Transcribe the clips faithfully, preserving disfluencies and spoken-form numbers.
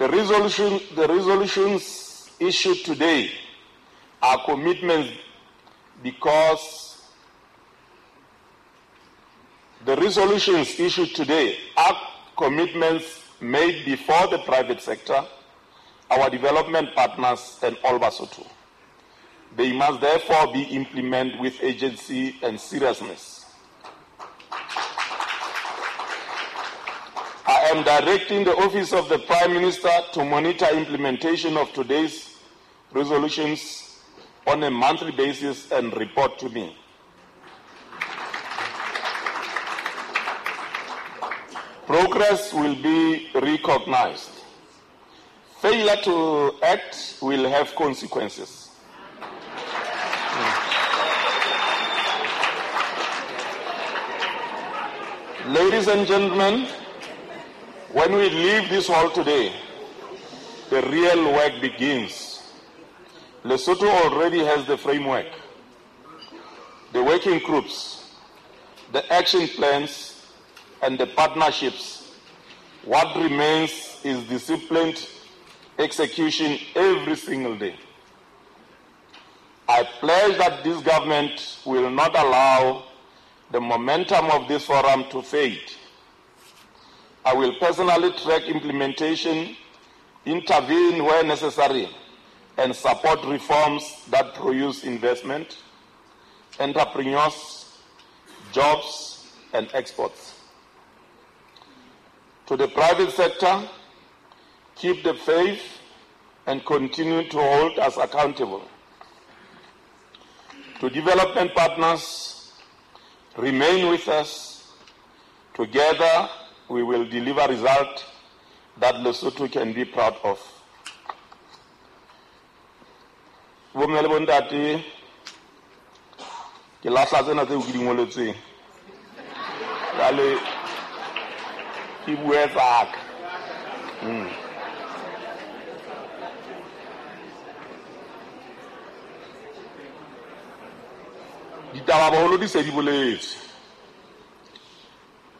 The resolution, the resolutions issued today are commitments because the resolutions issued today are commitments made before the private sector, our development partners, and all Basotho. They must therefore be implemented with urgency and seriousness. I am directing the Office of the Prime Minister to monitor implementation of today's resolutions on a monthly basis and report to me. Progress will be recognized. Failure to act will have consequences. Ladies and gentlemen, when we leave this hall today, the real work begins. Lesotho already has the framework, the working groups, the action plans, and the partnerships. What remains is disciplined execution every single day. I pledge that this government will not allow the momentum of this forum to fade. I will personally track implementation, intervene where necessary, and support reforms that produce investment, entrepreneurs, jobs, and exports. To the private sector, keep the faith and continue to hold us accountable. To development partners, remain with us. Together, we will deliver results that Lesotho can be proud of. Bomme le bontate, ke lahla tsena tseo ke di ngoletsweng. Jwale ke bue tsaka. Mm. Ditaba boholo di se di boletswe.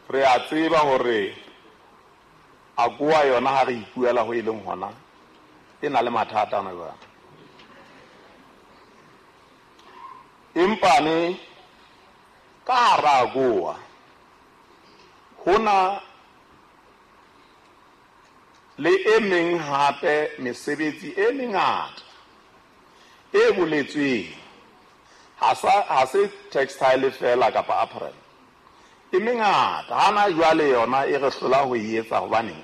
Re a tseba hore AGOA yona ha re ipuela ho e leng hona e na le mathata ana jwale. Empa ne ka hara AGOA hona le e meng hape mesebetsi e mengata e boletsweng. Ha sa ha se textile fela kapa apparel. E mengata hana jwale yona e re hlola ho e etsa hobaneng.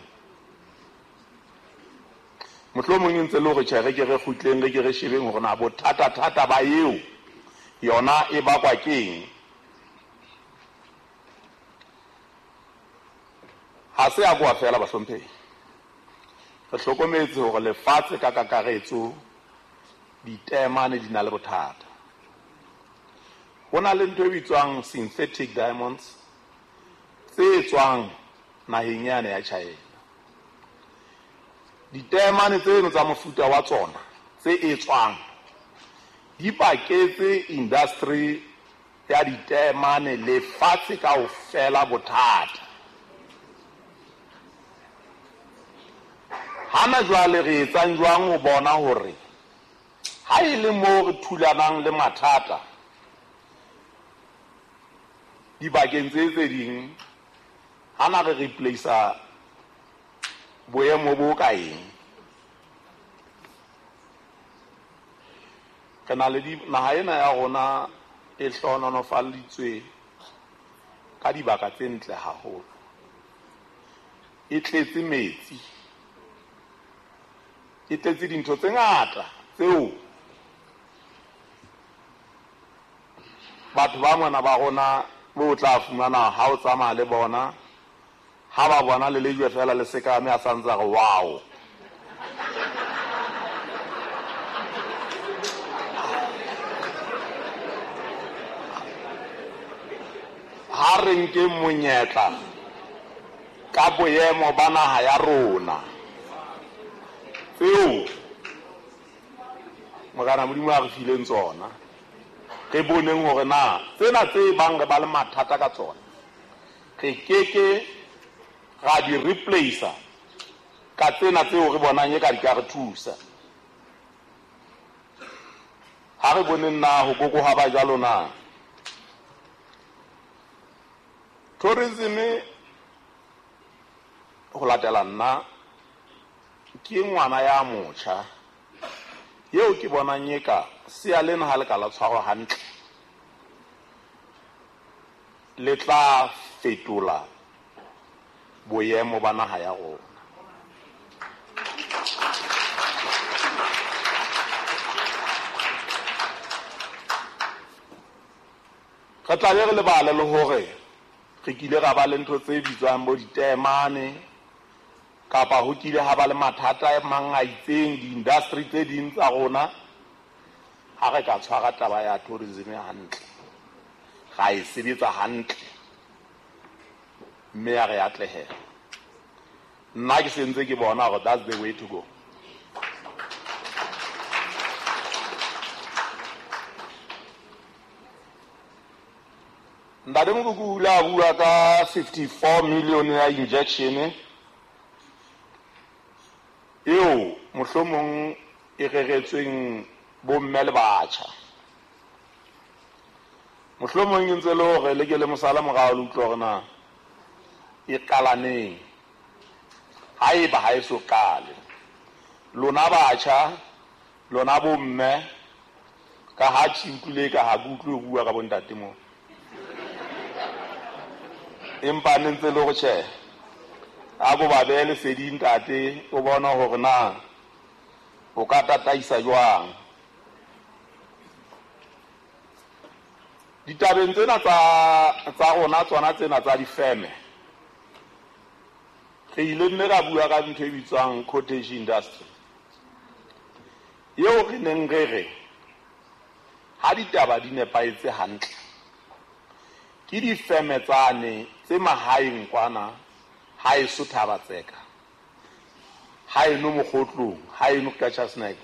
Mohlomong e ntse le hore tjhe re ke re kgutleng re ke re shebeng hore na bothata thata ba eo yona e bakwa keng. Ha se AGOA fela bahlomphehi. Re hlokometse hore lefatshe ka kakaretso ditemane di na le bothata. Ho na le ntho e bitswang synthetic diamonds tse tswang naheng yane ya China. Ditemane tseno tsa mofuta wa tsona tse etswang di paketse industry ya ditemane lefatshe kaofela bothata. Hana jwale re etsang jwang ho bona hore ha e le moo re thulanang le mathata dibakeng tse tse ding, hana re replace boemo bo ka eng. Re na le naha ena ya rona e hlohonolofaditswe ka dibaka tse ntle haholo, e tletse metsi, e tletse dintho tse ngata tseo batho ba mona ba rona bo tla fumana ha o tsamaya le bona, ha ba bona le lejwe fela le sekame a santsa re wow. Ha re nke monyetla ka boemo ba naha ya rona tseo Morena Modimo a re fileng tsona, re boneng hore na tsena tse bang re ba le mathata ka tsona re keke ra di replace Ka tsena tseo re bonang e ka di ka re thusa. Ha re boneng na ho koko ha ba jwalo na. Tourism ho latela nna ke ngwana ya motjha eo ke bonang e ka sea lena ha le ka la tshwarwa hantle le tla fetola boemo ba naha ya rona. Re tla be re lebale le hore re kile ra ba le ntho tse bitswang bo ditemane kapa ho kile ha ba le mathata a mang a itseng di-industry tse ding tsa rona. Ha re ka tshwara taba ya tourism hantle, ra e sebetsa hantle mme ya re atlehela. Nna ke sentse ke bona hore that's the way to go. Ntate Mokoku o ile a bua ka fifty-four million ya injection eo mohlomong e reretsweng bomme le batjha. Mohlomong e ntse le hore le ke le mosala morao le utlwe hore na e qala neng. Haeba ha e so qale, lona batjha, lona bomme, ka ha ke utlwile ka ha ke utlwe ho bua ka bontate moo. Empa ne ntse le hore tjhe, a ko ba behe leseding ntate, o bona hore na o ka tataisa jwang. Ditabeng tsena tsa tsa rona tsona tsena tsa difeme, re ile mme ra bua ka ntho e bitswang cottage industry eo re neng re re ha ditaba di nepahetse hantle ke difeme tsane tse mahaeng kwana ha eso Thaba-Tseka, ha eno Mokgotlong, ha eno Qacha's Nek,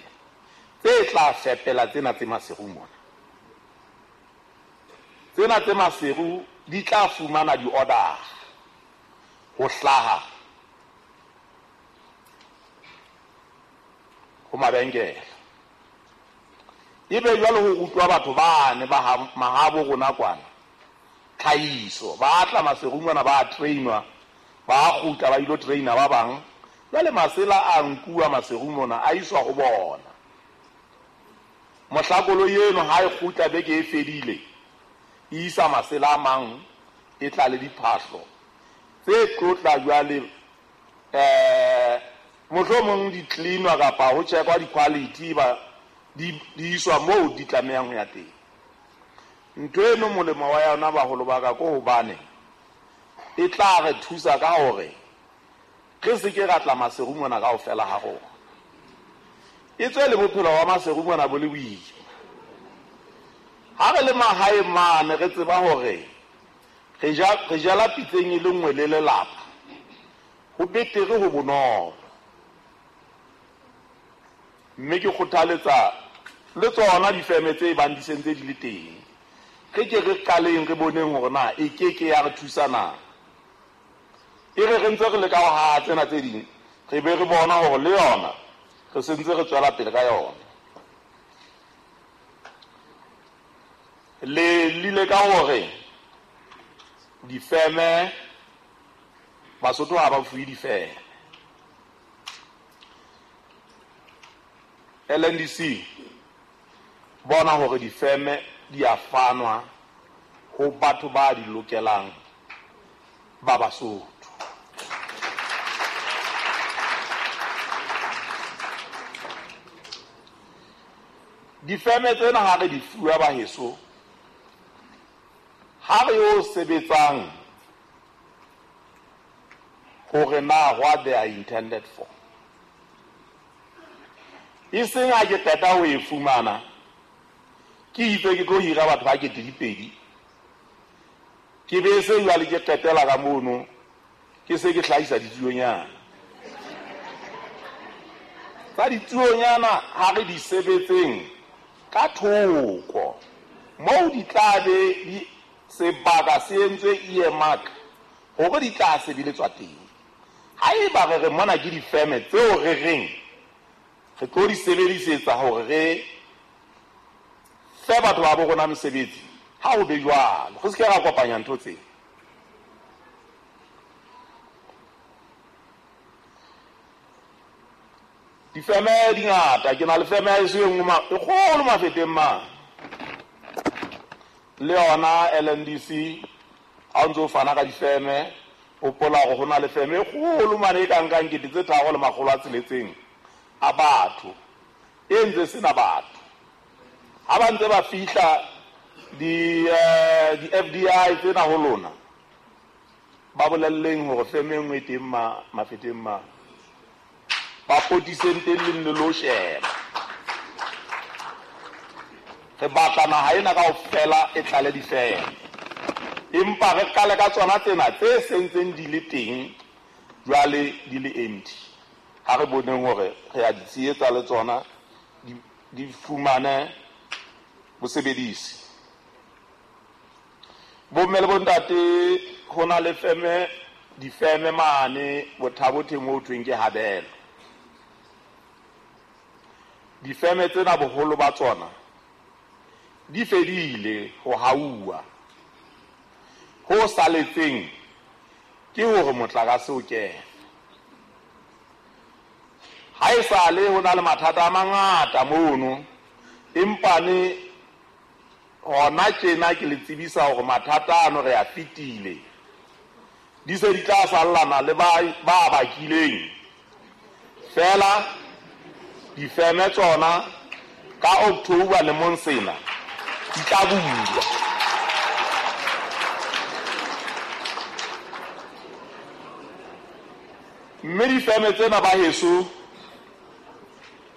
tse tla fepela tsena tse Maseru mona. Tsena tse Maseru di tla fumana di-order ho hlaha ho mabenkele. Ebe jwale ho rutwa batho bane ba mahabo rona kwana tlhahiso, ba tla Maseru mona ba trainwa, ba kgutla ba ilo traina ba bang. Jwale masela a nkuwa Maseru mona a iswa ho bona. Mohla koloi eno ha e kgutla beke e fedile, e isa masela a mang, e tla le diphahlo tse tlotla jwale eh mohlomong di cleanwa kapa ho checkwa di-quality ba di iswa moo di tlamehang ho ya teng. Ntho eno molemo wa yona baholo ba ka ko hobane e tla re thusa ka hore re se ke ra tla Maseru mona kaofela ha rona. E tswe le bophelo ba Maseru mona bo le boima. Ha re le mahaeng mane re tseba hore re ja re jala pitseng e le nngwe le lelapa, ho betere ho bonolo. Mme ke kgothaletsa le tsona difeme tse bang di sentse di le teng, re ke re qaleng re boneng hore na e ke ke ya re thusa na. E re re ntse re leka ho haha tsena tse ding, re be re bona hore le yona re sentse re tswela pele ka yona. Le lile ka hore difeme Basotho ha ba fuwe difeme. L N D C bona hore difeme di a fanwa ho batho ba di lokelang ba Basotho. Difeme tsena ha re di fuwa baheso, ha re yo sebetsang hore na what they are intended for. E seng ha ke qeta ho e fumana, ke itse ke tlo hira batho ba kete dipedi, ke be se jwale ke qetela ka mono, ke se ke hlahisa ditsuonyana. Tsa ditsuonyana ha re di sebetseng ka thoko, moo di tla be di sebaka se entswe earmark hore di tla sebeletswa teng. Haeba re re mona ke difeme tseo re reng re tlo di sebedisetsa hore re fe batho ba bo rona mesebetsi, ha ho be jwalo, re se ke ra kopanya ntho tsena. Difeme di ngata, ke na le feme ya heso e nngwe e kgolo Mafeteng mane, le yona L N D C. Ha o ntso fana ka difeme, hopola hore ho na le feme e kgolo mane e ka nkang kete tse tharo le makgolo a tsheletseng a batho, e ntse sena batho. Ha ba ntse ba fihla di, eh, di F D I tsena ho lona, ba bolelleng hore feme e nngwe e teng ma-, Mafeteng mane, ba potiseng teng le nne lo sheba. Re batla naha ena kaofela e tlale difeme, empa re qale ka tsona tsena tse sentseng di le teng jwale di le empty. Ha re boneng hore re a di tshehetsa le tsona di, di fumane bosebedisi. Bomme le bontate, ho na le feme, difeme mane Bothabothe moo ho thweng ke Habelo. Difeme tsena boholo ba tsona di fedile ho hauwa. Ho saletseng ke hore motlakase o kene. Ha e sale ho na le mathata a mangata mono, empa ne hona tjena ke le tsebisa hore mathata ano re a fetile. Di se di tla sallana le ba, ba bakileng. Fela difeme tsona ka October lemong sena di tla bulwa. Mme difeme tsena ba heso,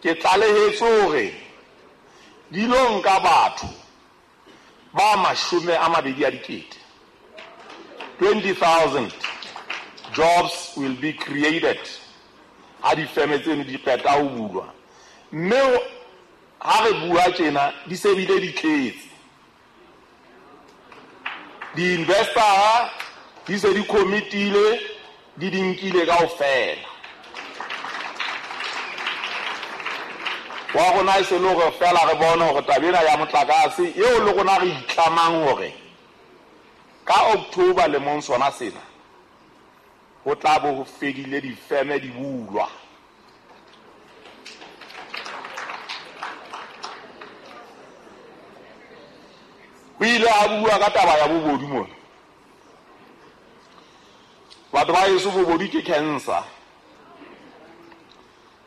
ke tlalehetse hore di lo nka batho ba mashome a mabedi a dikete. twenty thousand jobs will be created ha difeme tseno di qeta ho bulwa. Mme ha re bua tjena di se bile di tletse. Di-investor di se di committile, di di nkile kaofela. Wa rona e se le hore fela re bone hore taba ena ya motlakase eo le rona re itlamang hore ka October lemong sona sena ho tla bo ho fedile difeme di bulwa. Ho ile ha bua ka taba ya bobodu mona. Batho ba heso, bobodu ke cancer.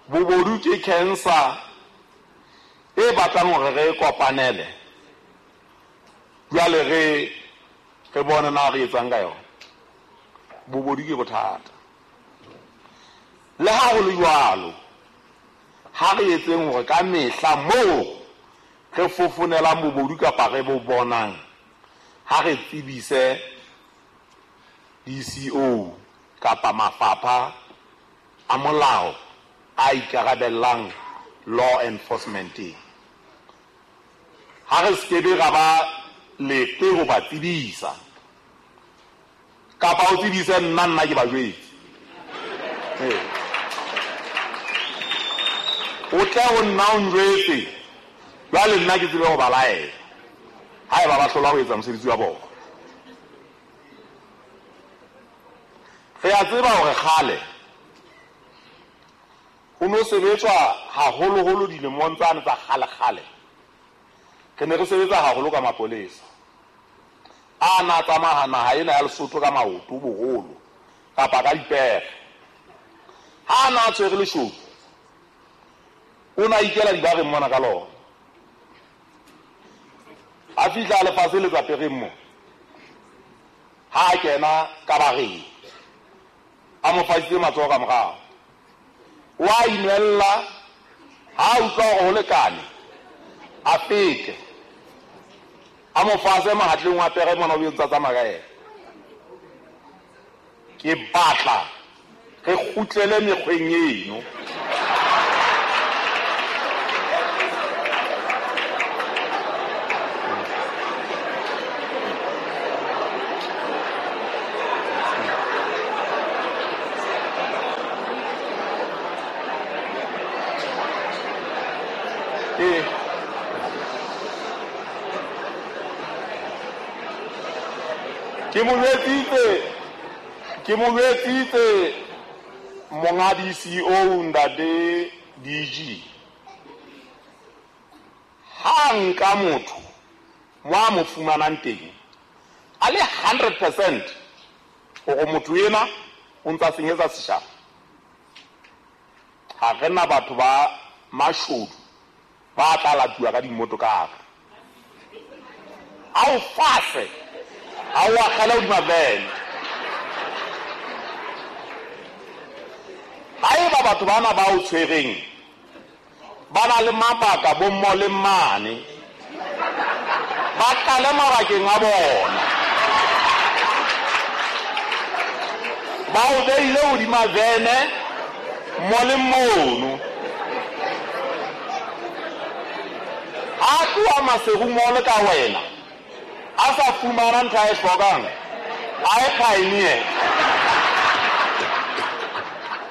Bobodu ke cancer e batlang hore re kopanele. Jwale re, re bone na re etsang ka yona. Bobodu ke bothata. Le ha ho le jwalo, ha re etseng hore ka mehla moo re fofonelang bobodu kapa re bo bonang, ha re tsebise D C O kapa mafapha a molao a ikarabellang law enforcement. Ha re skebe ra ba leqe ho ba tsebisa, kapa o tsebise nna, nna ke ba jwetse. Ee. O tle ho nna o njwetse, jwale nna ke tsebe ho ba laela haeba ba hlola ho etsa mosebetsi wa bona. Re a tseba hore kgale ho no sebetswa haholoholo dilemong tsane tsa kgale-kgale. Re ne re sebetsa haholo ka mapolesa a na tsamaya naha ena ya Lesotho ka maoto boholo kapa ka dipere. Ha a na tshwere leshodu, o na ikela dibareng mona ka lona. A fihla lefatshe le tsa pereng mo, ha a kena ka bareng, a mo fasitse matsoho ka morao. O a inwella, ha a utlwa hore ho lekane, a fete. A mo fase mahatleng wa pere mona o ntsa tsamaya ka yena. Ke batla re kgutlele mekgweng eno. Ke ke mo jwetsitse ke mo jwetsitse monga D C O ntate D G. Ha nka motho mo a mo fumanang teng a le hundred percent hore motho ena o ntsa senyetsa setjhaba. Ha re na batho ba mashodu ba tla latuwa ka dimoto ka hare. A o fase, a o akgele hodima vene. Haeba batho bana ba o tshwereng ba na le mabaka bo mmo le mmane, ba qale mabakeng a bona. Ba o beile hodima vene mo le mono. Ha tloha Maseru mole ka wena a sa fumana ntho a e hlokang, a e pioneer.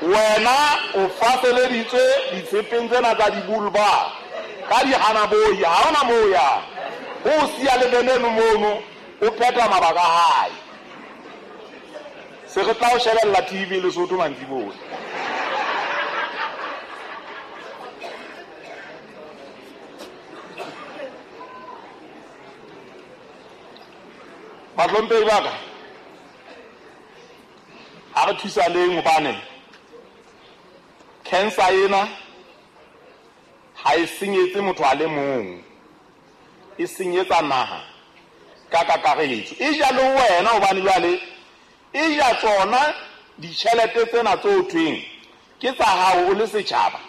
Wena o faseleditswe ditshepeng tsena tsa dibulba ka dihanaboi, ha hona moo yang. O siya le veneno mono, o phetha mabaka a hae. Se re tla o shebella T V Lesotho mantsiboya. Bahlomphehi ba ka, ha re thusaneng hobane cancer ena ha e senyetse motho a le mong, e senyetsa naha ka kakaretso. E ja le wena hobane jwale e ja tsona ditjhelete tsena tse o thweng ke tsa hao o le setjhaba,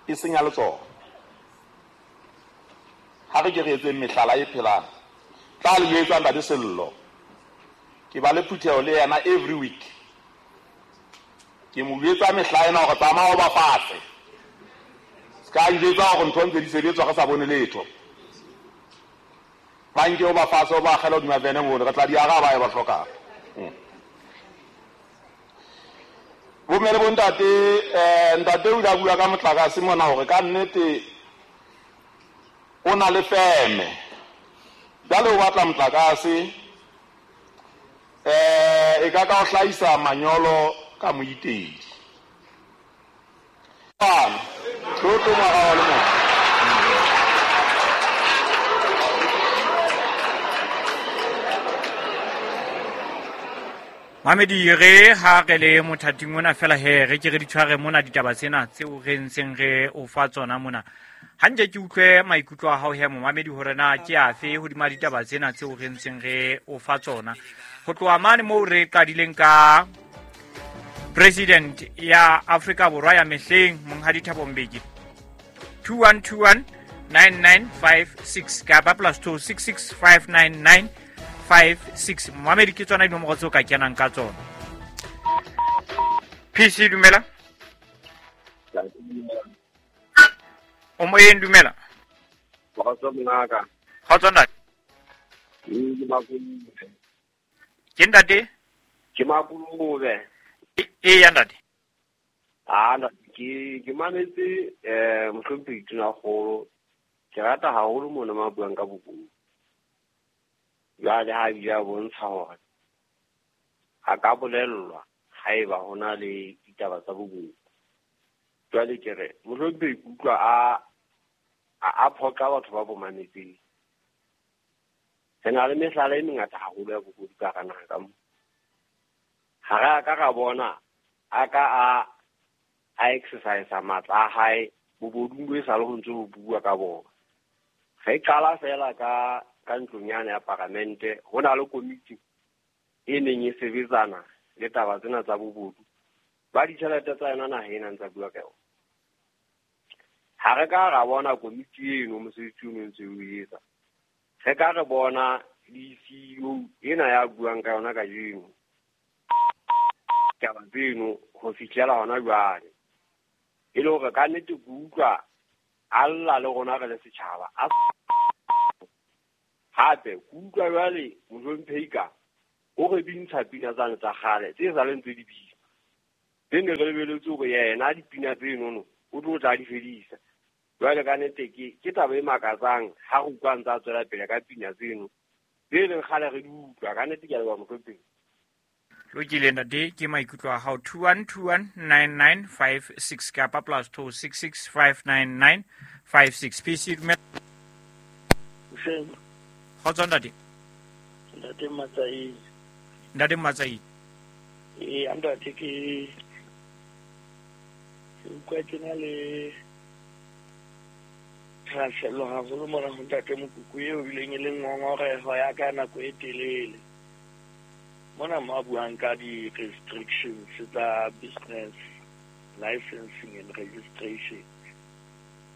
e senya le tsona. Ha re ke re etseng mehlala e phelang. Tla le jwetsa ntate Sello, ke ba le phutheho le yena every week. Ke mo jwetsa mehla ena hore tsamaya o bapatse. Se ka njwetsa hore ntho ntse di sebetswa re sa bone letho. Ba nke o ba fatshe o ba akgele hodima vene mono, re tla di araba e ba hlokang. Bomme le bontate, eh, ntate o ile a bua ka motlakase mona hore ka nnete o na le feme. Jwale o batla motlakase, eh, e ka ka o hlahisa manyolo ka moitedi. Tlo ngwaga wa le motho. Mamedi, re ha re le mothating ona fela he re ke re di tshware mona ditaba tsena tseo re ntseng re o fa tsona mona. Hantle ke utlwe maikutlo a hao he momamedi hore na ke afe hodima ditaba tsena tseo re ntseng re o fa tsona. Ho tloha mane moo re qadileng ka President ya Afrika Borwa ya mehleng Monghadi Thabo Mbeki two one two one nine nine five six kapa plus two six six five nine nine five six. Momamedi ke tsona dinomoro tseo ka kenang ka tsona. P C dumela. O moyeng dumela. Kgotso mongaka. Kgotso ntate. Ke Makulube. Ke ntate? Ke Makulube. E ya ntate. Ah ntate, ke ke mametse eh mohlomphehi Tonakgolo. Ke rata haholo mona ma buang ka bokulo. Jwale ha bile a bontsha hore a ka bolellwa haeba ho na le ditaba tsa bokulo. Jwale ke re mohlomphehi ke utlwa a a phoqa batho ba bo mametseng. Re na le mehlala e mengata haholo ya bokulo ka hara naha ka mo. Ha re a ka ra bona a ka a a exercise matla a hae bobodung bo e sa le ho ntse ho bua ka bona. Re qala fela ka ka ntlong yane ya paramente, ho na le komiti e neng e sebetsana le taba tsena tsa bobodu. Ba ditjhelete tsa yona naha ena ntsa bua ka yona. Ha re ka ra bona komiti eno mosebetsi o ntse o etsa. Re ka re bona le C E O ena ya buang ka yona kajeno. Taba tseno ho fihlela hona jwale. E le hore ka nnete ke utlwa a lla le rona re le setjhaba. A hape ke utlwa jwale mohlomphehi ka o re bintsha pina tsane tsa kgale tse sa leng tse di bina. Tse ne re lebeletse hore yena dipina tsenono o tlo tla di fedisa. Jwale ka nnete ke ke taba e makatsang ha re utlwa ntse a tswela pele ka pina tseno tse leng kgale re di utlwa. Ka nnete ke a leboha mohlomphehi. Lokile ntate, ke maikutlo a hao. Two one two one nine nine five six kapa plus two six six five nine nine five six. P C dumela. Hoseng. Kgotso ntate. Ntate Matsaile. Ntate Matsaile. Eh, ntate ke ke utlwa ke na le thahasello haholo mona ho ntate Mokuku eo bileng e leng ngongoreho ya ka nako e telele. Mona mo a buang ka di-restrictions tsa business licensing and registration.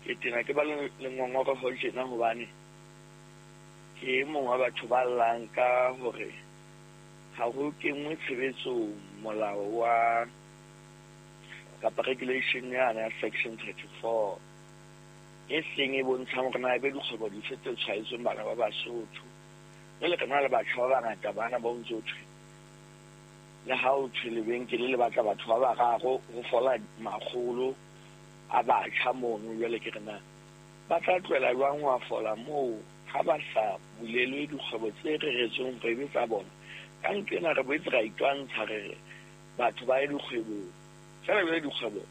Ke tena ke ba le ngongoreho tjena hobane ke e mong wa batho ba llang ka hore ha ho kenngwe tshebetsong molao wa kapa regulation yana ya section thirty-four e seng e bontshang hore na ebe dikgwebo dife tse tshwaetsweng bana ba Basotho. Jwale re na le batjha ba bangata bana ba ntso thwe le ha o thwe lebenkele le batla batho ba bararo ho fola makgolo a batjha mono. Jwale ke re na ba tla tlohela jwang ho a fola moo ha ba sa bulelwe dikgwebo tse reretsweng hore ebe tsa bona? Ka ntho ena re boetse ra itwantsha re re batho ba ye dikgwebong. Feela jwale dikgwebo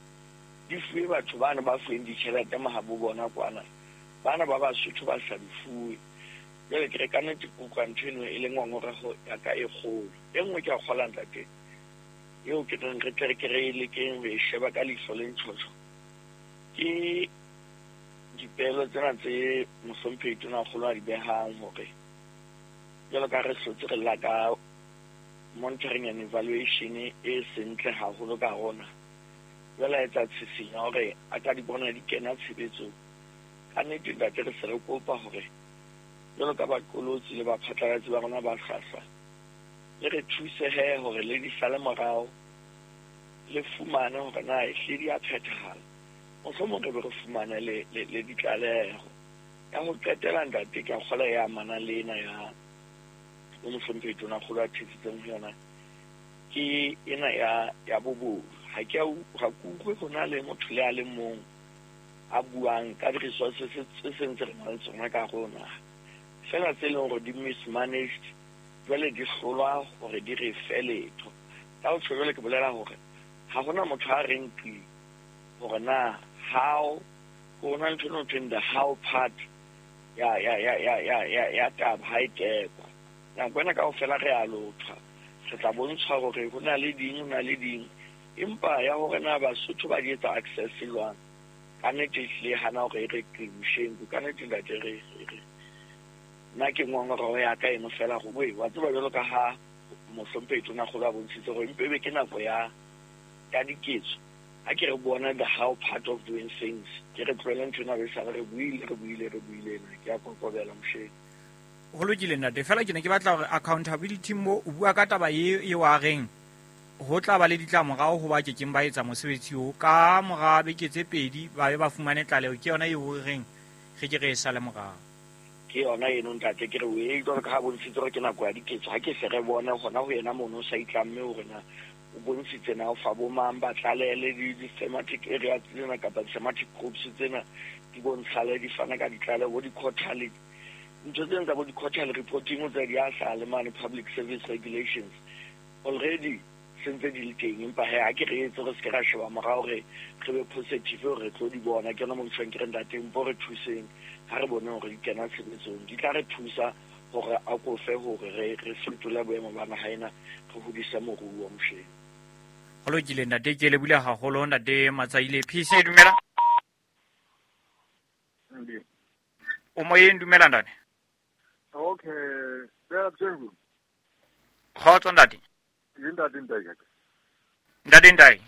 di fuwe batho bana ba fuweng ditjhelete mahabo bona kwana, bana ba Basotho ba sa di fuwe. Jwale ke re ka nnete ke utlwa ntho eno e le ngongoreho ya ka e kgolo. E nngwe ke a kgola ntate eo ke reng re tle re ke re e lekeng ho e sheba ka leihlo le ntjhotjho, ke dipehelo tsena tse mohlomphehi Tonakgolo a di behang hore jwalo ka re hlotse re lla ka monitoring and evaluation e sentle haholo ka rona. Jwale a etsa tshisinyo hore a ka di bona di kena tshebetsong. Ka nnete ntate re se re kopa hore jwalo ka baqolotsi le baphatlalatsi ba rona ba hlwahlwa le re thuse he hore le di sale morao, le fumane hore na ehlile di a phethahala. Mohlomong re be re fumane le le ditlaleho. Ya ho qetela ntate ke a kgola e amanang le ena ya o mohlomphehi Tonakgolo a thetsitseng ho yona, ke ena ya ya bobodu. Ha ke ha ke utlwe ho na le motho le a le mong a buang ka di-resources tse sentse re nang le tsona ka hare ho naha, feela tse leng hore di mismanaged jwale di hlolwa hore di re fe letho. Ka ho tjho jwale ke bolela hore ha hona motho a reng qi hore na how ho na ntho eno thweng the how part ya ya ya ya ya ya ya taba ha e tekwa. Nako ena kaofela re a lothwa, re tla bontshwa hore ho na le ding, ho na le ding, empa ya hore na Basotho ba di etsa access jwang, ka nnete ehlile hana hore e re qi mosheng. Ka nnete ntate re re nna ke ngongoreho ya ka eno feela hore wa tseba jwalo ka ha mohlomphehi Tonakgolo a bontshitse hore empe ebe ke nako ya ya diketso. Ha ke re bona the how part of doing things, ke re tlohele ntho ena re sale re buile re buile re buile ena. Ke a kokobela mosheng. Ho lokile ntate, feela ke ne ke batla hore accountability mo o bua ka taba e e wa reng ho tla ba le ditlamorao ho ba kekeng ba etsa mosebetsi oo ka mora beke tse pedi ba be ba fumane tlaleho. Ke yona eo re reng re ke re e sale morao. Ke yona eno ntate, ke re o e jwalo ka ha bontshitse hore ke nako ya diketso. Ha ke se re bone hona ho yena mono o sa itlamme hore na o bontshitse na o fa bo mang ba tlalele di-thematic area tsena kapa di-thematic groups tsena di bontshale di fana ka ditlaleho bo di-quarterly. Ntho tsena tsa bo di-quarterly reporting tsa di a hlaha le mane public service regulations already sentse di le teng, empa he ha ke re etse re se ke ra sheba morao re re be positive hore re tlo di bona. Ke yona mo ke tjhong ke re ntate mpo re thuseng ha re bone hore di kena tshebetsong, di tla re thusa hore a kofe hore re re fetole boemo ba naha ena, re hodise moruo mosheng. Ho lokile ntate, ke lebohile haholo ntate Matsaile. P C dumela. O moyeng, dumela ntate. Okay, bea Kgotso ntate. Ke ntate Ntai. Ntate Ntai.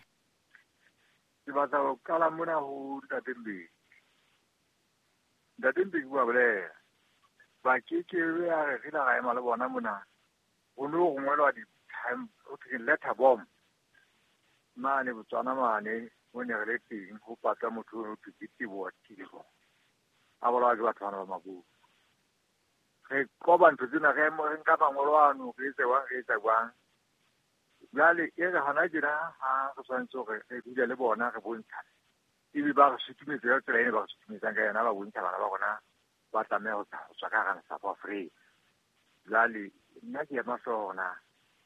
Ke batla ho qala mona ho ntate Mbeki. Ntate Mbeki bua bolela. Ba ke ke be a re re la ra ema le bona mona. Ho no rongwelwa di-time ho thweng letter bomb. Mane Botswana mane mo ne re le teng ho patla motho o thwe ke Teboho Teboho. A bolawa ke batho bana ba Maburu. Re qoba ntho tsena re re nka mangolo ano re etse jwang re etsa jwang. Jwale e re hona tjena ha re tshwanetse hore re dule le bona re bontshane. Ebe ba re sutumetsa ka tsela ene ba re sutumetsang ka yona, ba bontsha bana ba rona ba tlameha ho tswa ka hara South Africa. Jwale nna ke ema sona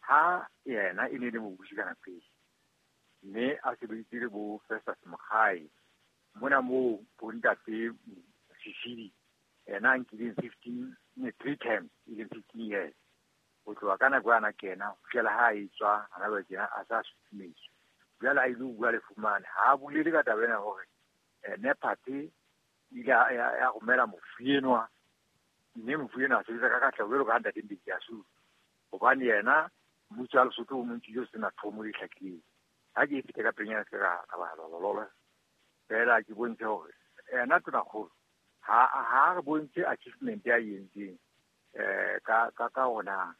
ha yena e ne le mobusi ka nako eo, mme a sebeditse le bo Festus Mogae mona moo bo ntate Sisili, yena a nkileng fifteen three times e leng fifteen years ho tloha ka nako yana kena ho fihlela ha a etswa hana jwale tjena a sa sutumetswa. Jwale a ile ho bua le fumane ha a bolele ka taba ena hore Nepad e ile ya romela mofu enwa, mme mofu enwa a sebetsa ka katleho jwalo ka ha ntate Mbeki a supa, hobane yena mmuso wa Lesotho o montshitse o sena thomo e hlakileng. Ha ke e fete ka pelenyana se ka ka ba lololo fela, ke bontshe hore yena tonakgolo ha ha re bontshe achievement ya entseng eh ka ka ka ona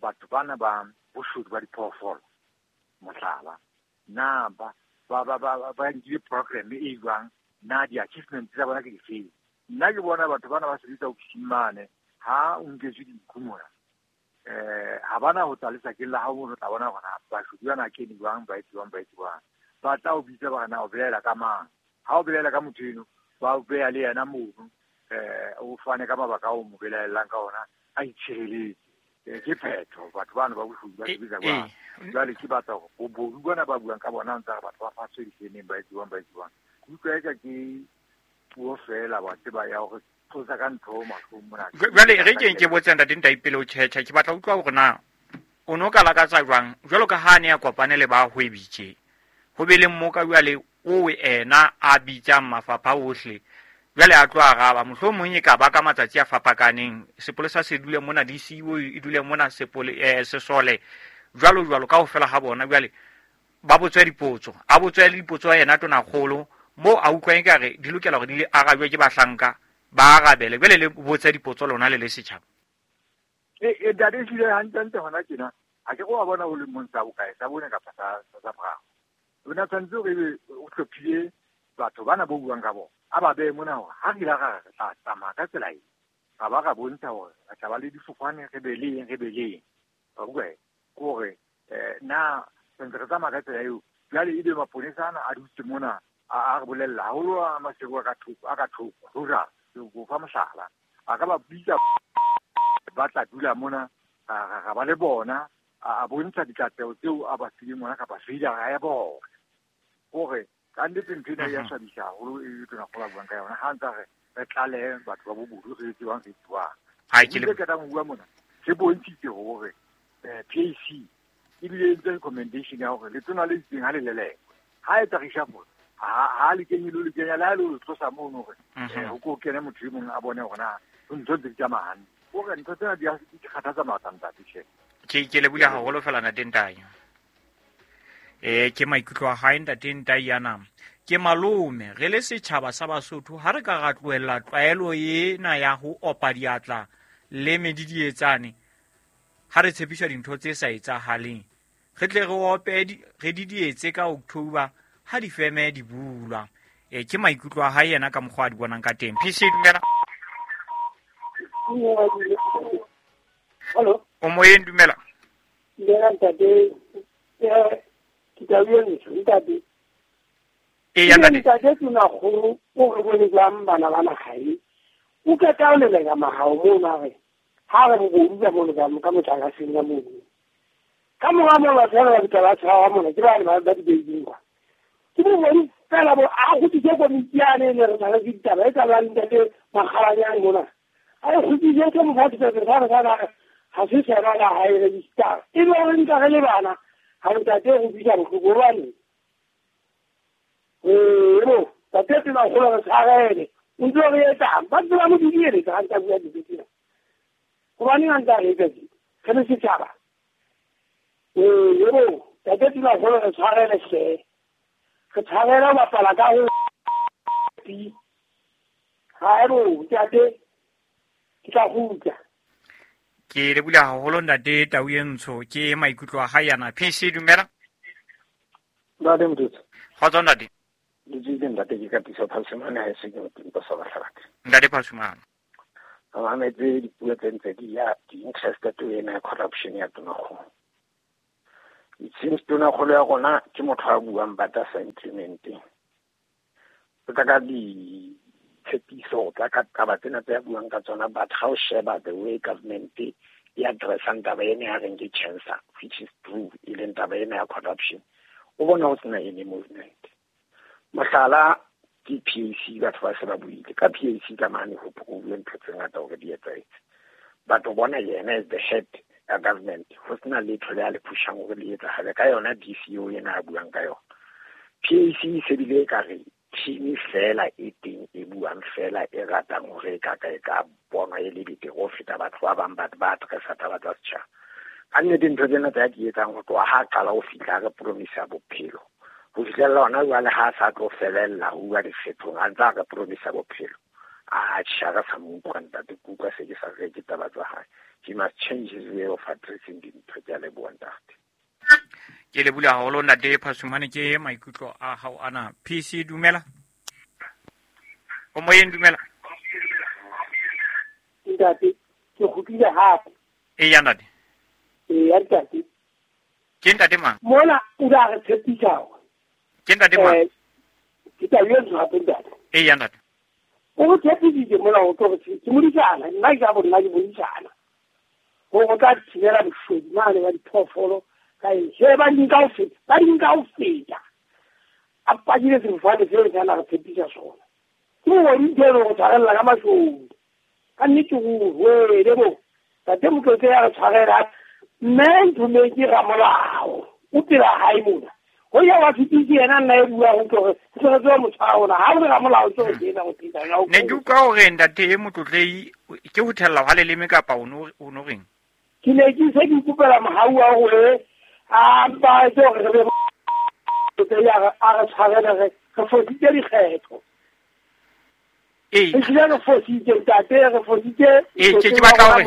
batho bana ba boshodu ba diphoofolo mohlala na ba ba ba ba ba nkile program e jwang, na di-achievement tsa bona ke difeng. Nna ke bona batho bana ba sebetsa ofising mane ha o nketswe dinku mona eh ha bana ho tla lesakeng la hao mono, tla bona hore bashodu bana kene jwang, ba etse jwang, ba etse jwang. Ba tla o bitsa ba re na o belaela ka mang, ha o belaela ka motho eno ba o beha le yena mono, eh o fane ka mabaka ao mo belaellang ka ona a itshireletse. Ke phetho batho bana ba boshodu ba sebetsa jwang. Jwale ke batla hore bobodu bona ba buang ka bona ntse re batho ba faswe difeneng ba etse jwang, ba etse jwang. Ke utlwa eka ke puo fela wa tseba ya hore tlosa ka ntho mahlong mona. Jwale re ke ke botse ntate Ntaipele o tjhetjha, ke batla utlwa hore na o no ka lakatsa jwang jwalo ka ha ne a kopane le ba hwebi tje, ho be le mmoka jwale o ena a bitsang mafapha ohle, jwale a tlo araba mohlomong e ka ba ka matsatsi a fapakaneng, sepolesa se dule mona, D C O e dule mona, sepole eh, sesole jwalo jwalo kaofela ha bona. Jwale ba botswe dipotso, a botswe le dipotso yena tonakgolo mo a utlwa ekare di lokela hore di le arabjwe ke bahlanka ba arabele. Jwale le botse dipotso lona le le setjhaba. E e ntate ehlile hantlentle hona tjena ha ke wa bona o le mong sa bokae sa bone kapa sa sa boraro. O na tshwanetse hore ebe o hlophile batho bana bo buang ka bona, a ba behe mona hore ha re ile ra re tla tsamaya ka tsela e, ra ba ra bontsha hore re tla ba le difofane, re be le eng, re be le eng. Wa utlwa ke hore na sentse re tsamaya ka tsela eo. Jwale ebe maponesa ana a dutse mona a re bolella haholo a Maseru a ka thoko, a ka thoko rural, ke fa mohlala, a ka ba bitsa ba tla dula mona, ra ba le bona, a bontsha dikatleho tseo a ba fileng ona kapa failure ya bona. Hore ka nnete ntho ena ya swabisa haholo e tonakgolo a buang ka yona, ha ntse re re tlalehe batho ba bobodu re etse jwang, re etse jwang. Ha ke le ketang ho bua mona se bontshitse hore P A C ebile e entse recommendation ya hore letona le itseng ha le lelekwe, ha etsa reshuffle ha ha le kenye le kenya le ha le tlosa mono hore ho ko kene motho e mong a bone hore na ntho tse di tsamaya hantle. Hore ntho tsena di di kgathatsa matla ntate tjhe. Ke ke lebohile haholo fela ntate Ntai. Eh ke maikutlo a hae ntate Ntai yana. Ke malome re le setjhaba sa Basotho ha re ka ra tlohella tlwaelo ena ya ho opa diatla le medidietsane ha re tshepiswa dintho tse sa etsahaleng, re tle re ope re didietse ka October ha difeme di bulwa. E ke maikutlo a hae yena ka mokgwa a di bonang ka teng. P C dumela. Hello. O moyeng dumela. Dumela ntate. Ke tla ntate. E ya ntate. Ntate tonakgolo o re bone jwang bana ba magae. O ka taolela mahao mona re. Ha re bobodu ba mono ka ka motlakaseng ka mono. Ka mora moo batho ba ba ba tshwara mona ke bane ba ba di-beijing kwa. Ke bobodu fela bo a kgutlise komiti yane ne re na le ditaba e tla ntate Makgalanyane mona. A e kgutlise ke mofatshe re re re ha se sera la hae register. E be re nka re le bana ha ntate go bitsa bohloko hobane. Eh bo ntate tonakgolo re tshwarele. O ntse re etsang ba ntse ba mo didieletsa ha ntse a bua dintho tsena. Hobane a ntse a re etsa tje re le setjhaba. Eh bo ntate tonakgolo re tshwarele hle. Re tshwarele ho bapala ka ho ha bo ntate ke tla kgutla. Ke lebohile haholo ntate Tau e Ntsho, ke maikutlo a hae yana. P C dumela. Ntate Motutsi. Kgotso ntate. Le tsile ntate ke Katiso Phasumane ha e se ke motho sa Bahlabake. Ntate Phasumane. Ba mametse dipuo tse ntse di ya di-interested to ena corruption ya tonakgolo. It seems tonakgolo ya rona ke motho a buang but a sa implementeng. O tla ka ditshepiso, o tla ka taba tsena tse a buang ka tsona, but ha o sheba the way government e addressang taba ena ya reng ke cancer, which is true, e leng taba ena ya corruption, o bona ho sena any movement. Mohlala ke P A C, batho ba se ba buile ka P A C ka mane ho bue ntho tse ngata hore di etsahetse. But o bona yena as the head ya government, ho sena letho le a le pushang hore le etsahale ka yona D C O ena a buang ka yona. P A C e se bile ekare team fela e teng e buang fela e ratang hore e ka ka e ka bonwa e le betere ho feta batho ba bang batho ba addressa taba tsa setjhaba. Ka nnete ntho tsena tse a di etsang ho tloha ha qala ho fihla re promisa bophelo. Ho fihlella hona jwale ha a sa tlo felella ho bua dikgethong, a ntse a re promisa bophelo. A tjha re sa mo utlwa ntate, ke utlwa se ke sa reke taba tsa hae. He must change his way of addressing dintho. Ke a leboha ntate. Ke leboha haholo ntate Phasumane, ke maikutlo a hao ana. P C dumela. O moyeng dumela. Ntate, ke kgutlile hape. Eya ntate. Eya ntate. Ke ntate mang? Mona o la re tshepisa hore. Ke ntate mang? Eh, ke tla etsa hape ntate. Eya ntate. O tshepisitse mona ho tlo re ke modisana, nna ke a bona ke modisana. Ho go tla thibela boshodu mane ba diphoofolo ka eng. He ba di nka ho feta, ba di nka ho feta. A pakile sefofane seo se na re tshepisa sona. Ke mo di ntho go tshwarella ka mashodu. Ka nnete go wele bo. Tate Motlotle ya re tshwarela mme ntho me ke ramolao. O pela hae mona. Ho ya wa fitise yena nna e bua ho tlo re re tswa motshwaro ona. Ha o re ramolao tlo re tsena go tla ya o. Ne ke utlwa hore ntate Motlotle ke ho thella hwa leleme kapa o no o no reng? Ke ne ke se ke ikopela mohau wa hore a mpa tse hore re be ya a re tshwarele re re fositse dikgetho. Ee. Ehlile re fositse ntate, re fositse. Ee, ke ke batla hore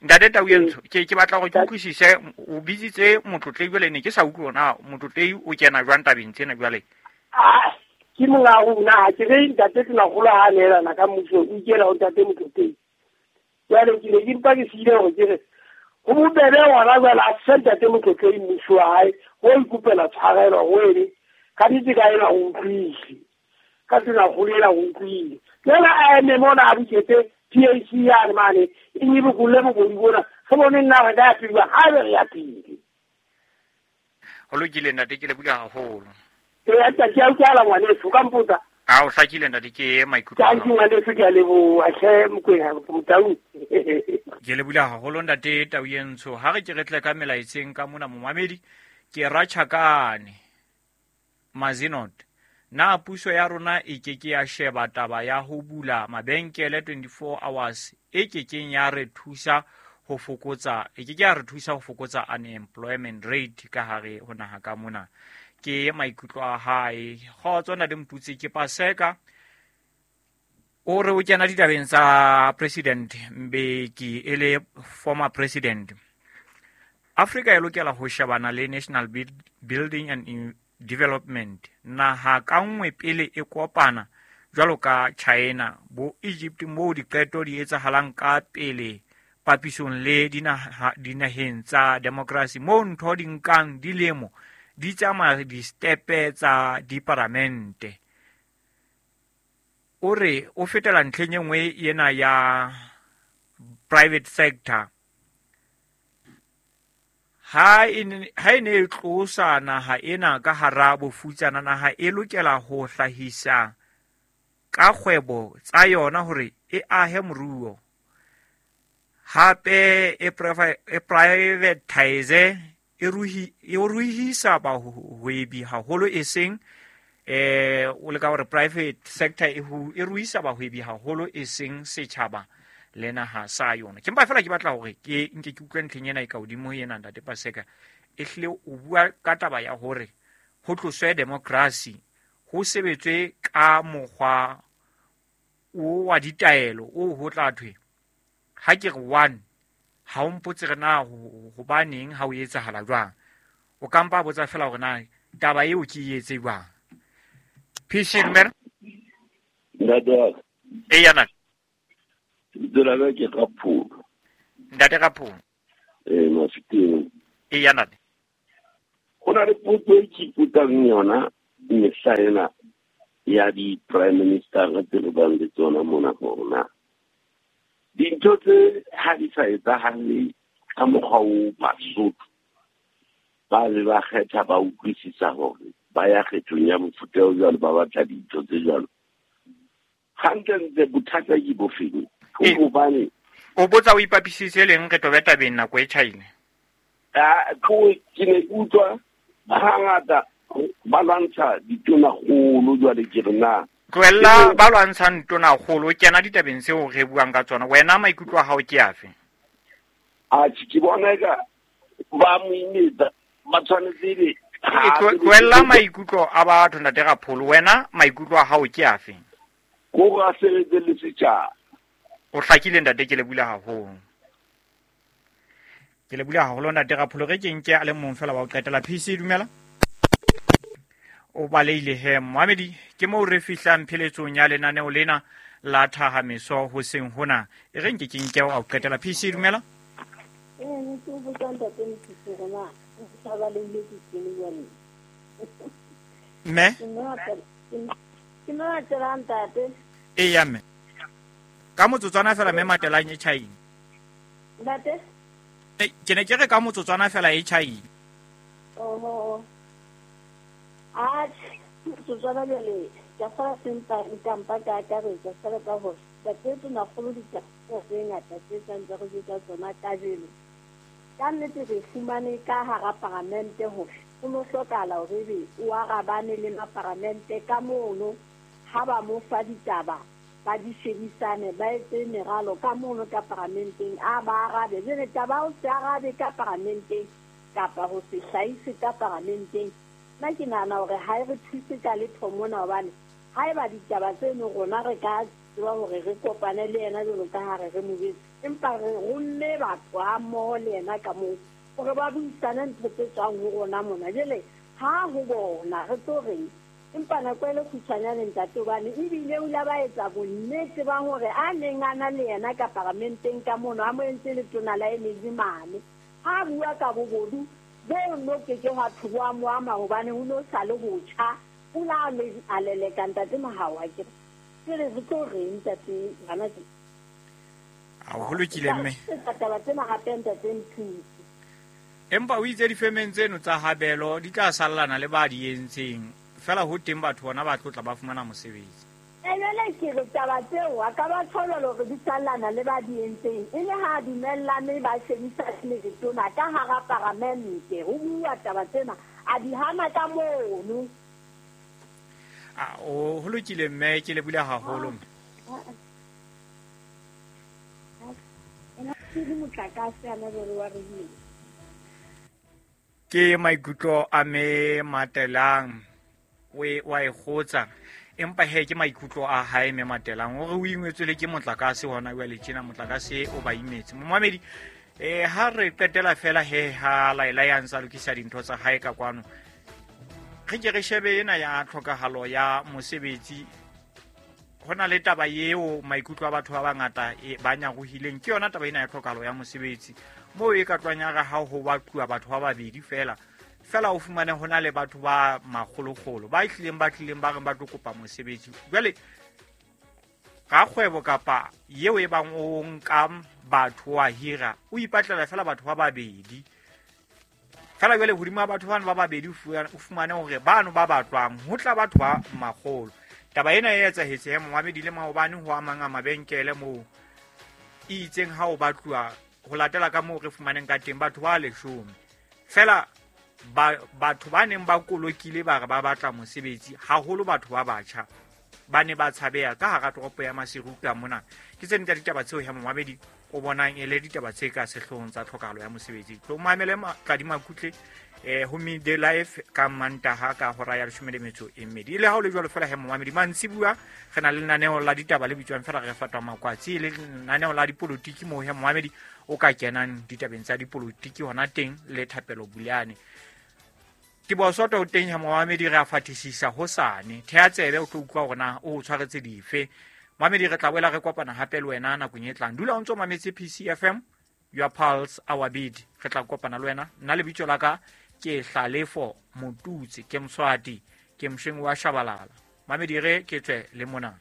ntate Tau Entsho, ke ke batla hore ke utlwisise, o bitsitse Motlotle jwale ne ke sa utlwe hore na Motlotle o kena jwang tabeng tsena jwale. Ah, ke monga rona, ha ke re ntate Tonakgolo ha neelana ka mmuso, o ikela ho ntate Motlotle. Jwale ke ne ke mpa ke siile hore ke re ho bobebe hona jwale a fe ntate Motlotle mmuso wa hae, ho ikopela tshwarelo ho ene, ka nnete ka ena o utlwile. Ka Tonakgolo ena o utlwile. Jwale a eme mona a buketse P A C yane mane, e nyibokolle bobodu bona, re bone nna re ka ya pele, ha be re ya pele. Ho lokile ntate, ke leboha haholo. Ee, ntate, ke a utlwala ngwaneso, ka mpotsa. A o hlakile ntate, ke maikutlo a Thank you ngwaneso, ke a leboha hle Mokwena, Motau. Ke leboha haholo ntate Tau Entsho. Ha re ke re tle ka melaetseng ka mona momamedi, ke Ratjhakane Mazinot. Na puso ya rona e ke ke ya sheba taba ya ho bula mabenkele twenty-four hours e ke keng ya re thusa ho fokotsa, e ke ke ya re thusa ho fokotsa unemployment rate ka hare ho naha ka mona. Ke maikutlo a hae. Kgotso ntate Motutsi, ke Paseka. O re o kena ditabeng tsa President Mbeki e le former president. Afrika e lokela ho shebana le National Building and Development. Naha ka nngwe pele e kopana jwalo ka China, bo Egypt moo diqeto di etsahalang ka pele papisong le dinaha dinaheng tsa democracy moo ntho di nkang dilemo di tsamaya di-stepe tsa diparamente. O re o fetela ntlheng e nngwe ena ya private sector. Ha e ne e tlosa naha ena ka hara bofutsana, naha e lokela ho hlahisa ka kgwebo tsa yona hore e ahe moruo. Hape e privatize e ruhi e ruhisa bahwebi haholo, e seng eh o leka hore private sector e e ruhisa bahwebi haholo e seng setjhaba le naha sa yona. Ke mpa fela ke batla hore ke nke ke utlwe ntlheng ena e ka hodimo ena ntate Paseka. E hlile o bua ka taba ya hore ho tloswe democracy, ho sebetswe ka mokgwa o wa ditaelo o ho tla thwe ha ke re one ha o mpotse re na hobaneng ha o etsahala jwang. O ka mpa botsa fela hore na taba eo ke e etse jwang. P C dumela. Ntate. E yana. Lebitso la ka ke Rapholo. Ntate Rapholo. Eh, Mafeteng. E yana. Ho na le potso e ke ipotsang yona mehla ena ya di-prime minister tse re bang le tsona mona hore na dintho tse ha di sa etsahale ka mokgwa o Basotho ba be ba kgetha ba utlwisisa hore ba ya kgethong ya mofuta o jwalo, ba batla dintho tse jwalo. Hantlentle bothata ke bofeng? Hobane o botsa o ipapisitse leng re tobe tabeng nako e tjhaile? Ah, ke ne ke utlwa hangata ba lwantsha ditonakgolo jwale ke re na tlohella ba lwantshang tonakgolo, kena ditabeng tseo re buang ka tsona. Wena maikutlo a hao ke afe? Atjhe, ke bona eka ba mo imetsa, ba tshwanetse ebe tlohella maikutlo a batho ntate Rapholo. Wena maikutlo a hao ke afe? Ko a sebetse le setjhaba. O hlakile ntate, ke le bula haholo. Ke le bula haholo ntate Rapholo. Re ke nke a le mong fela wa ho qetela. P C dumela. O baleile he Mohamedi, ke moo re fihlang pheletsong ya lenaneo lena la Thahameso hoseng hona. E re nke ke nke wa ho qetela. P C dumela. Eh, ne ke botsa ntate Mothusi hore na o sa baleile ke kene jwale. Mme? Ke mme Matelang ntate. Eya mme. Ka motsotswana fela mme Matelang e tjhaile. Ntate? Ke ne ke re ka motsotswana fela e tjhaile. Oho. Atjhe, motsotswana jwale ka fela sempa nkampa ka akaretsa fela ka hore ntate Tonakgolo ditaba tse ngata tse santse re jwetsa tsona kajeno. Ka nnete re fumane ka hara paramente hore ho no hlokahala hore ebe o arabane le maparamente ka mono ha ba mo fa ditaba ba di shebisane, ba etse meralo ka mono ka paramenteng, a ba arabe. Jwale taba o se arabe ka paramenteng kapa ho se hlahise ka paramenteng, nna ke nahana hore ha e re thuse ka letho mona, hobane haeba ditaba tseno rona re ka tseba hore re kopane le yena jwalo ka ha re re mo jwetse, empa re romme batho ha mmoho le yena ka moo hore ba buisane ntho tse tswang ho rona mona. Jwale ha ho bona re tlo reng? Empa nako e le kgutshwanyane ntate, hobane ebile o ile ba etsa bonnete ba hore a neng a na le yena ka paramenteng ka mono, a mo entse letona la energy mane, ha bua ka bobodu bo no ke ke hwa thwe bo a mo ama hobane ho no sa le botjha, o la a leleka ntate Mohau a ke re re tlo reng ntate bana ke a ho lokile mme taba tsena hape ntate Mthuse. Empa o itse difemeng tseno tsa habelo di tla sallana le ba di entseng fela, ho teng batho bona ba tlotla ba fumana mosebetsi. E jwale ke re taba tseo a ka ba thola hore di sallana le ba di entseng, e le ha dumellane ba shebisane le letona ka hara paramente ho bua taba tsena, a di hana ka mono. A o ho lokile mme, ke le bula haholo mme. Ke maikutlo a me Matelang we wa e kgotsa, empa he ke maikutlo a hae me Matelang hore o ingwetswe le ke motlakase hona jwale tjena, motlakase o ba imetse. Momamedi eh ha re qetela fela he ha Laila ya ntsa lokisa dintho tsa hae ka kwano, re ke re shebe ena ya tlhokahalo ya mosebetsi. Ho na le taba eo maikutlo a batho ba bangata ba nyarohileng ke yona taba ena ya tlhokahalo ya mosebetsi, moo e ka tlwang ya re ha ho batluwa batho ba babedi fela fela o fumane ho na le batho ba makgolokgolo ba tlileng ba tlileng ba reng ba tlo kopa mosebetsi. Jwale rakgwebo kapa eo e bang o nka batho wa hira o ipatlela fela batho ba babedi fela. Jwale hodima batho bano ba babedi o fumane hore bano ba batlwang ho tla batho ba makgolo. Taba ena e etsahetse he momamedi le maobane ho amang a mabenkele moo e itseng ha o batluwa ho latela ka moo re fumaneng ka teng batho ba leshome fela ba batho ba neng ba kolokile ba re ba batla mosebetsi, haholo batho ba batjha ba ne ba tshabeha ka hara toropo ya Maseru ka mona. Ke tse ding tsa ditaba tseo ya momamedi o bonang e le ditaba tse ka sehloohong tsa tlhokahalo ya mosebetsi. Tlo mamele Tladi Makutle eh ho Midday Life ka Mantaha ka hora ya leshome le metso e mmedi. Le ha o le jwalo fela he momamedi mantsibuya re na le lenaneo la ditaba le bitswang fela re fatwa makwatsi, le lenaneo la dipolotiki moo he momamedi o ka kenang ditabeng tsa dipolotiki hona teng le Thapelo Buleane. Ke bosoto o teng ha momamedi re a fatisisa hosane. Thea tsebe o tlo utlwa hore na o tshwaretse dife. Momamedi re tla boela re kopana hape le wena nakong e tlang. Dula o ntso mametse P C F M, your pulse, our beat. Re tla kopana le wena. Nna lebitso la ka ke Hlalefo Motutsi, ke Mswati, ke Msheng wa Shabalala. Mamedi re ke tswe le mona.